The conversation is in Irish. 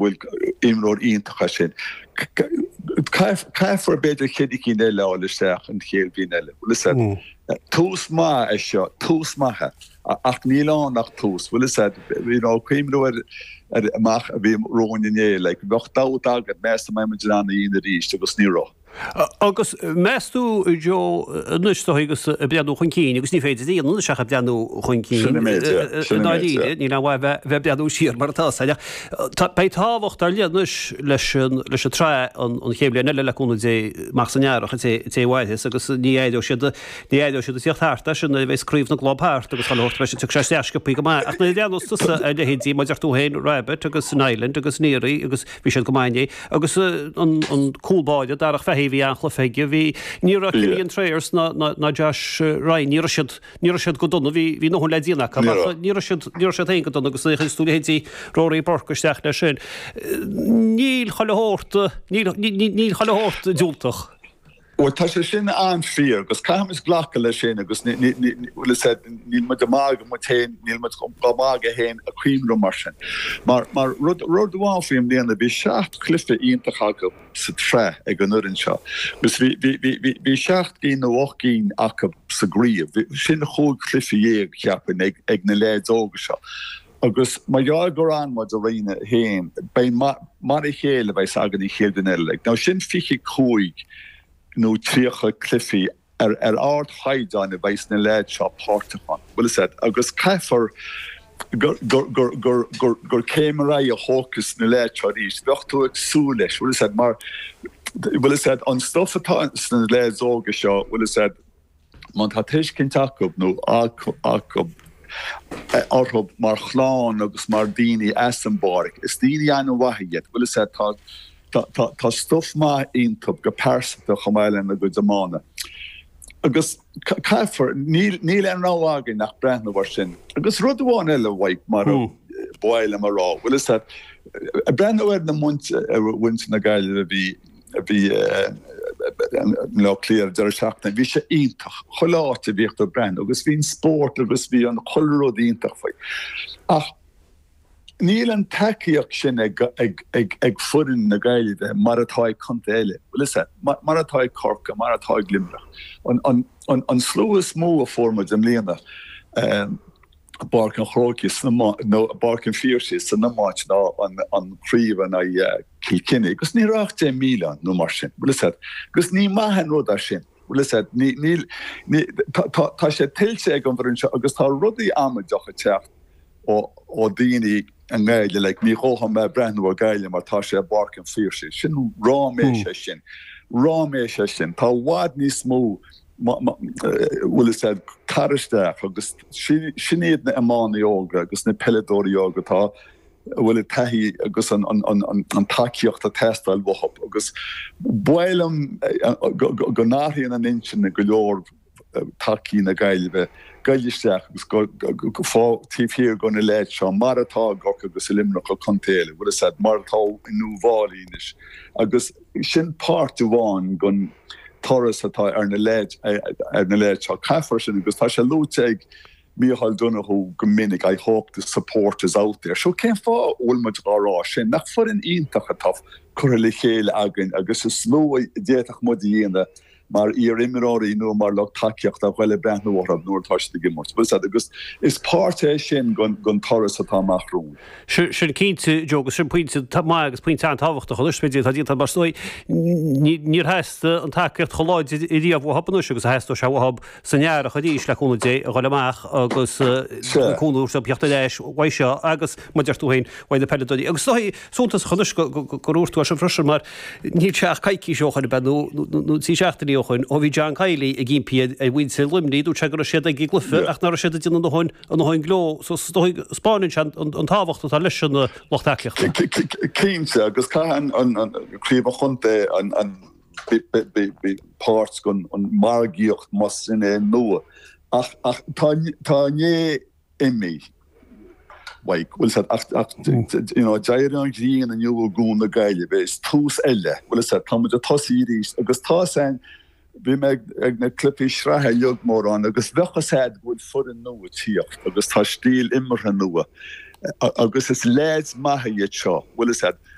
Bhuel, imreoir iontach é sin. Caithfear b'fhéidir cheithre cinn eile a fháil isteach an chéad bhliain eile. Bhfuil fhios a'd, tús maith é seo, tús maith é. Ach níl ann ach tús. Bhfuil fhios a'd, you know, cuimhniú ar ar amach a bhí romhainn inné, like, bheadh dabht agat, meas tú an mbeidh muid in ann a dhéanamh arís agus ní raibh. Agus meas tú, Joe, anois tá agus ag breathnú chun cinn, agus ní féidir a dhéanamh anois ach ag breathnú chun cinn, Sin an méid, yeah. Sin an méid, yeah. Níl aon mhaith bheith ag breathnú siar mar atá sé. Ach beidh tábhacht ar leith anois leis an leis an tsraith an chéad bhliain eile le cúnamh Dé amach san earrach an té té a mhairfeas agus ní éireoidh siad ní éireoidh siad ag tíocht thart as sin nuair a bheas craobh na gclub thart agus chuile shórt beidh siad tiocfaidh sé isteach sciobthaí go maith. Ach nuair a bhreathnós tusa ar leithéidí mar a deir tú féin Rabbitte agus Niland agus Neary agus Bhí siad go maith inné. Agus an cúl báire, Darach Fahy, bhí an-chluiche aige. Bhí, ní raibh Killian Trayers ná, ná, ná Josh Ryan, ní raibh siad, ní raibh siad go dona. Bhí, bhí a ndóthain le déanamh acu ach ní raibh siad, ní raibh siad féin go dona agus nuair a chuireas tú leithéidí Rory Burke isteach leis sin, níl chuile shórt, níl, níl chuile shórt diúltach. Bhuel, tá sé sin an-fhíor agus caithfimid glacadh leis sin agus bhfuil fhios a'd, níl muid ag magadh muid féin, níl muid á magadh féin ag cuimhniú mar sin. Mar, mar rud, rud amháin faoi i mbliana, bhí seacht chluiche iontach acu sa tsraith ag an fhoireann seo agus bhí, bhí, bhí, bhí, bhí seacht gcinn nó ocht gcinn acu sa gcraobh. Sin chúig chluiche dhéag, cheapfainn, ag, ag na leaids óga seo. Agus mar gheall gur fhan muid i Roinn 1, beidh mar a chéile a bheas againn an chéad bhliain eile. Like, now sin 25 nó 30 cluichí ar ar ardchaighdeán a bheas na leaids seo páirteach ann. Bhfuil fhios a'd? Agus caithfear gur gur gur gur gur gur céim ar aghaidh a thógfas na leaids seo arís. Bheadh tú ag súil leis, bhfuil fhios a'd, mar bhfuil fhios a'd, an stuff atá sna leaids óga seo, bhfuil fhios a'd, Má tá tuiscint acu nó acu orthu mar chlann agus mar daoine as an bpáirc, is daoine an-mhaith iad. Bhfuil fhios a'd, tá, tá, tá stuff maith iontu go pearsanta chomh maith lena gcuid iomána. Agus caithfear, níl, níl aon rogha againn ach breathnú ar sin. Agus rud amháin eile, Mhaidhc, mar a ba mhaith liom a rá, bhfuil fhios a'd, breathnú ar na muintir na Gaillimhe a bhí, a bhí i mBaile Átha Cliath ar an deireadh seachtaine, bhí sé iontach, chuile áit a bhíodh tú ag breathnú agus bhí an spórt agus bhí an chuile rud iontach faoi. Ach níl an tacaíocht sin ag ag foireann na Gaillimhe mar atá ag contae eile, bhfuil fhios a'd, mar atá ag Corcaigh, mar atá ag Luimneach. An slua is mó a fuair muid i mbliana, i bPáirc an Chrócaigh nó i bPáirc an Phiarsaigh san iomáint ná an chraobh in aghaidh Chill Chainnigh agus ní raibh ach 10,000 ann nó mar sin, bhfuil fhios a'd. Agus ní maith an rud é sin, bhfuil fhios a'd. Ní, níl, ní, tá, tá, tá sé tuillte ag an bhfoireann seo agus tá rudaí amaideach ag teacht ó, ó daoine i nGaillimh, like ní ghabhfaidh mé ag breathnú ar Gaillimh mar tá sé i bPáirc an Phiarsaigh. Sin ráiméis é sin. Ráiméis é sin. Tá i bhfad níos mó bhfuil fhios a'd, tar isteach agus sin iad na iománaí óga agus na peileadóirí óga atá, a bhfuil an taithí agus an tacaíocht ag teastáil uathu agus ba mhaith liom go n-athraíonn an intinn ag go leor tacaí na Gaillimhe goil isteach agus go fá taobh thiar de na leaids seo mar atá i gCorcaigh agus i Luimneach agus contae eile, bhfuil fhios a'd, mar atá in Uíbh Fhailí anois agus sin páirt amháin den turas atá ar na leaids ar na leaids seo. Caithfear sin agus tá sé luaite ag Micheál Donoghue go minic, I hope the support is out there. So cén fáth a bhfuil muid dhá rá sin? Nach foireann iontach atá curtha le chéile againn agus is lú a d'fhéadfadh muid a dhéanamh mar iar-imreoirí nó mar lucht tacaíochta a ghoil ag breathnú orthu nuair atá siad ag imirt. Bhfuil fhios a'd, agus is páirt é sin den turas atá amach romhainn. Sin cinnte, Joe, agus sin pointe maith agus pointe an-tábhachtach anois, b'fhéidir, atá déanta mar is dóigh. Níor theastaigh an tacaíocht chomh láidir riamh uathu anois agus a theastóidh sé uathu san earrach arís, le cúnamh Dé, a dhul amach agus cúnamh a thabhairt theacht ar ais uaidh seo agus, mar a deir tú féin, uaidh na peileadóirí. Agus is dóigh, suntasach anois gur dhúirt tú é sin freisin mar níl sé ach coicís ó shoin ab ea nó trí seachtainí ó shoin ó bhí John Kiely ag impí ar mhuintir Luimnigh, dúirt sé go raibh siad ag an gcluiche ach nach raibh siad ag déanamh a ndóthain a ndóthain gleo. So is dóigh 'spáineann sé an tábhacht atá leis an lucht tacaíochta. Cinnte, agus caithfidh an craobh an chontae an páirt den margaíocht más sin é nua ach tá tá inné imithe. Mhaidhc, bhfuil fhios a'd, ach, ach, you know, d'éirigh an ghrian inniu i gCuan na Gaillimhe, is tús eile, bhfuil fhios a'd, tá muid ag tosaí arís agus tá fhios a'inn, bhí mé ag, ag na cluichí sraithe uilig mórán agus bheadh fhios a'd go bhfuil foireann nua ag tíocht agus tá stíl imeartha nua. Agus is leaids maithe iad seo, bhfuil fhios a'd.